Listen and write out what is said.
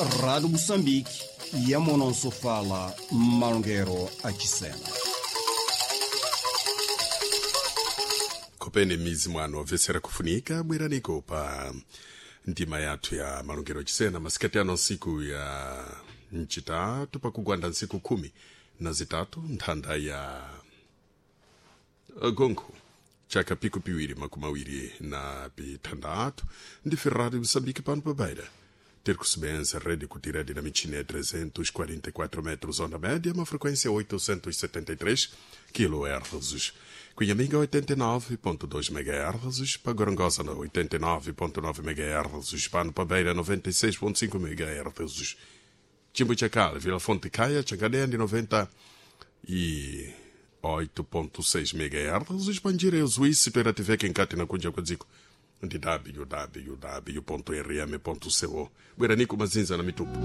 Rádio Moçambique, Yamonosofala, Malongero Achisena. Kopene mizi mwano obvesera kufunika bweraniko pa ndima yathu ya malongero achisena masikati ano nsiku ya ncitatu pakugwanda nsiku 13 nthanda ya gonkho chaka piku 2026 ndi Ferrari Moçambique pano pa Beira ter kusebenza rede kutiradi na michina ya 344 metros onda média, uma frequência 873 kHz. Cunhaminga 89.2 MHz, para Gorongosa 89.9 MHz, Pano para Beira 96.5 MHz. Chimbo Chacal, Vila Fonte Caia, Chancadeia de 98.6 MHz, Panjira e Suíça, Pera TV Kenkati na Kunja Kwadziko ndi www.rm.co bweraniku mazinza na mitupu.